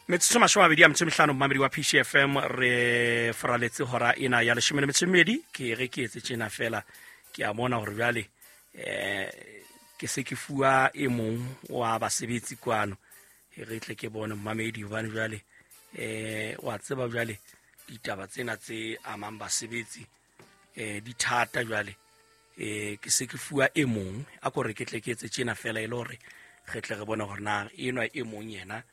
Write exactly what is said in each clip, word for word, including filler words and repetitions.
Metsotso mashome a mabedi a metso e mehlano, momamedi wa P C F M, re foraletse hora ena ya leshome le metso e mmedi. Ke re ke etse tjena fela, ke a bona hore jwale eh ke se ke fuwa e mong wa basebetsi kwano. E re tle ke bone, momamedi, hobane jwale eh wa tseba jwale ditaba tsena tse amang basebetsi eh di thata. Jwale eh ke se ke fuwa e mong, a ko re ke tle ke etse tjena fela e le hore re tle re bone hore na enwa e mong yena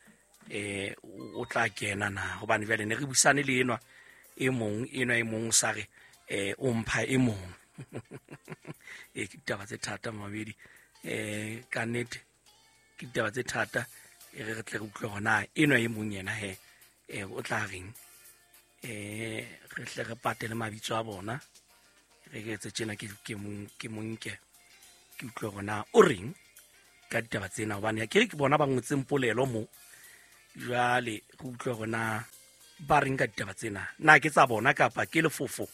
eh o tla kena na, hobane jwale ne re busane le enwa e mong, enwa e mong sa re eh o mpha e mong. E ke ditaba tse thata, mamedi, eh ka nnete ke ditaba tse thata. E re re tle re utlwe hore na enwa e mong yena he eh o tla reng. eh re tle re patele mabitso a bona. Re ke etse tjena, ke ke mong ke monke ke utlwe hore na o reng ka ditaba tsena, hobane ke re ke bona ba ngotseng polelo mo. Jwale re utlwe hore na ba reng ka ditaba tsena, na ke tsa bona kapa ke lefofo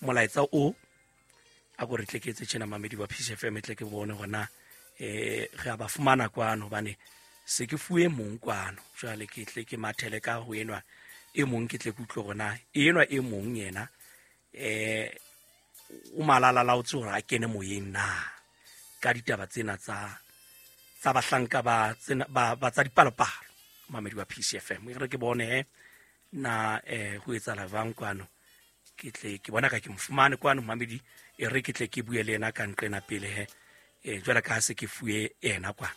molaetsa o. A ko re tle ke etse tjena, mamedi wa P C F M, tle ke bone hore na eh re a ba fumana kwano, hobane se ke fuwe mong kwano. Jwale ke tle ke mathele ka ho enwa e mong, ke tle ke utlwe hore na enwa e mong yena eh o malala laotse hore a kene moyeng na ka ditaba tsena tsa tsa bahlanka ba tsena ba ba tsa dipalopalo. Mamedi wa P C F M, e re ke bone he na eh ho etsahala jwang kwano. Ke tle ke bona ka ke mo fumane kwano, mamedi. E re ke tle ke bue le yena ka nqena pele he, eh jwale ka ha se ke fuwe yena kwana.